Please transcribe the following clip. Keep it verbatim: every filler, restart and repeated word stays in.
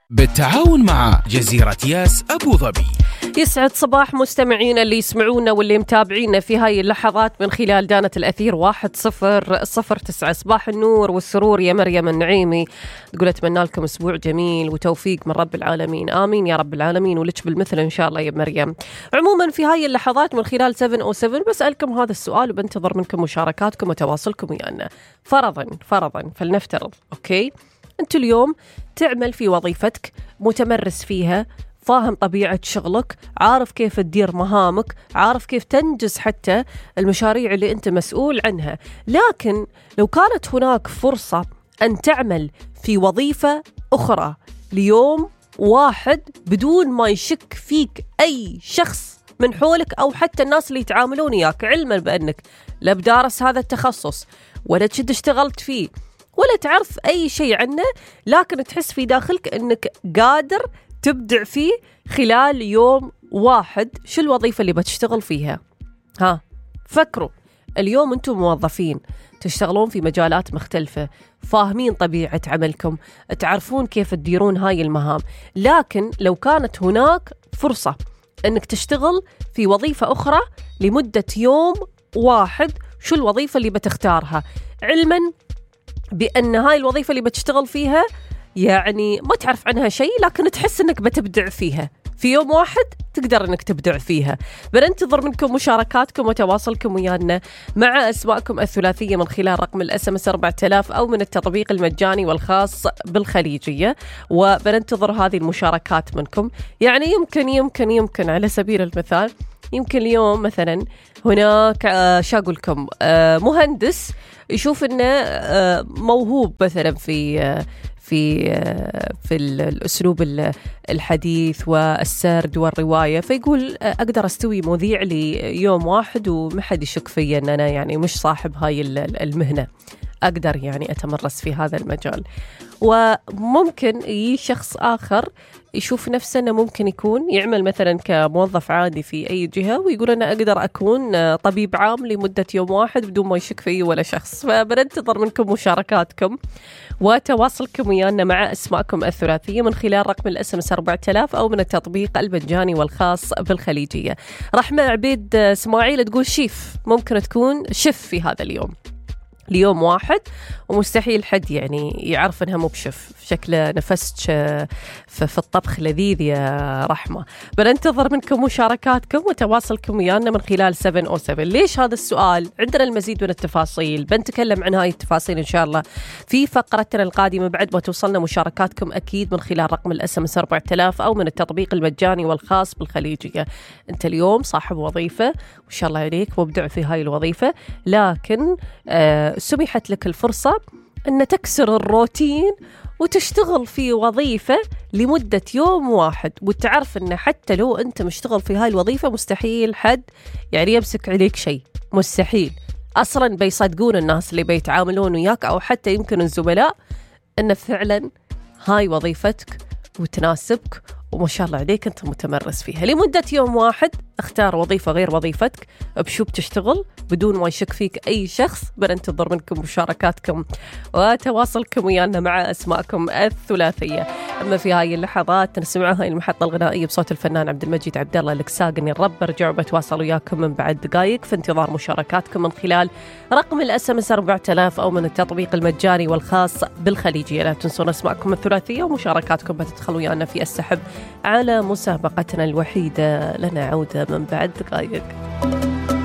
بالتعاون مع جزيرة ياس أبو ظبي. يسعد صباح مستمعينا اللي يسمعونا واللي متابعينا في هاي اللحظات من خلال دانة الأثير واحد صفر صفر تسعة. صباح النور والسرور يا مريم النعيمي، تقول أتمنى لكم أسبوع جميل وتوفيق من رب العالمين. آمين يا رب العالمين، ولك بالمثل إن شاء الله يا مريم. عموما في هاي اللحظات من خلال سبعة أو سبعة بسألكم هذا السؤال وبنتظر منكم مشاركاتكم وتواصلكم ويانا. فرضا فرضا فلنفترض أوكي أنت اليوم تعمل في وظيفتك، متمرس فيها، فاهم طبيعة شغلك، عارف كيف تدير مهامك، عارف كيف تنجز حتى المشاريع اللي أنت مسؤول عنها. لكن لو كانت هناك فرصة أن تعمل في وظيفة أخرى ليوم واحد بدون ما يشك فيك أي شخص من حولك أو حتى الناس اللي يتعاملون إياك، علما بأنك لا بدارس هذا التخصص ولا تشد اشتغلت فيه ولا تعرف أي شيء عنه، لكن تحس في داخلك أنك قادر تبدع فيه خلال يوم واحد، شو الوظيفة اللي بتشتغل فيها؟ ها فكروا. اليوم أنتم موظفين تشتغلون في مجالات مختلفة، فاهمين طبيعة عملكم، تعرفون كيف تديرون هاي المهام، لكن لو كانت هناك فرصة أنك تشتغل في وظيفة أخرى لمدة يوم واحد، شو الوظيفة اللي بتختارها؟ علماً بأن هاي الوظيفة اللي بتشتغل فيها يعني ما تعرف عنها شيء، لكن تحس أنك بتبدع فيها في يوم واحد، تقدر أنك تبدع فيها. بننتظر منكم مشاركاتكم وتواصلكم ويانا مع أسماءكم الثلاثية من خلال رقم الأس ام اس أربعة آلاف أو من التطبيق المجاني والخاص بالخليجية، وبننتظر هذه المشاركات منكم. يعني يمكن يمكن يمكن على سبيل المثال يمكن اليوم مثلا هناك شو أقول لكم مهندس يشوف إنه موهوب مثلا في في في الأسلوب الحديث والسرد والرواية، فيقول أقدر أستوي مذيع ليوم واحد وما حد يشك في أن أنا يعني مش صاحب هاي المهنة، أقدر يعني أتمرس في هذا المجال. وممكن يجي شخص آخر يشوف نفسه أنه ممكن يكون يعمل مثلا كموظف عادي في أي جهة ويقول أنا أقدر أكون طبيب عام لمدة يوم واحد بدون ما يشك فيه ولا شخص. فبننتظر منكم مشاركاتكم وتواصلكم ويانا مع أسماءكم الثلاثية من خلال رقم الأس ام اس أربعة آلاف أو من التطبيق المجاني والخاص بالخليجية. رحمة عبيد اسماعيل تقول شيف، ممكن تكون شيف في هذا اليوم ليوم واحد، ومستحيل حد يعني يعرف انها مو بشف، شكله نفست في الطبخ لذيذ يا رحمة. بننتظر منكم مشاركاتكم وتواصلكم ويانا من خلال سبعة أو سبعة. ليش هذا السؤال؟ عندنا المزيد من التفاصيل، بنتكلم عن هاي التفاصيل إن شاء الله في فقرتنا القادمة بعد ما توصلنا مشاركاتكم أكيد من خلال رقم الأس ام اس أربعة آلاف أو من التطبيق المجاني والخاص بالخليجية. أنت اليوم صاحب وظيفة وإن شاء الله عليك مبدع في هاي الوظيفة، لكن آه سمحت لك الفرصة أن تكسر الروتين وتشتغل في وظيفة لمدة يوم واحد، وتعرف أن حتى لو أنت مشتغل في هاي الوظيفة مستحيل حد يعني يمسك عليك شيء، مستحيل أصلا بيصدقون الناس اللي بيتعاملون وياك أو حتى يمكن الزملاء أن فعلا هاي وظيفتك وتناسبك وما شاء الله عليك أنت متمرس فيها لمدة يوم واحد. اختار وظيفة غير وظيفتك بشو بتشتغل بدون ما يشك فيك أي شخص. بننتظر منكم مشاركاتكم وتواصلكم ويانا مع أسماءكم الثلاثية. أما في هاي اللحظات نسمع هاي المحطة الغنائية بصوت الفنان عبد المجيد عبد الله الكساقني الرب. برجع وبتواصل وياكم من بعد دقائق في انتظار مشاركاتكم من خلال رقم الأس ام اس أربعة آلاف أو من التطبيق المجاني والخاص بالخليجية. لا تنسون أسماءكم الثلاثية ومشاركاتكم بتدخلوا ويانا في السحب على مسابقتنا الوحيدة لنا عودة من بعد دقائق.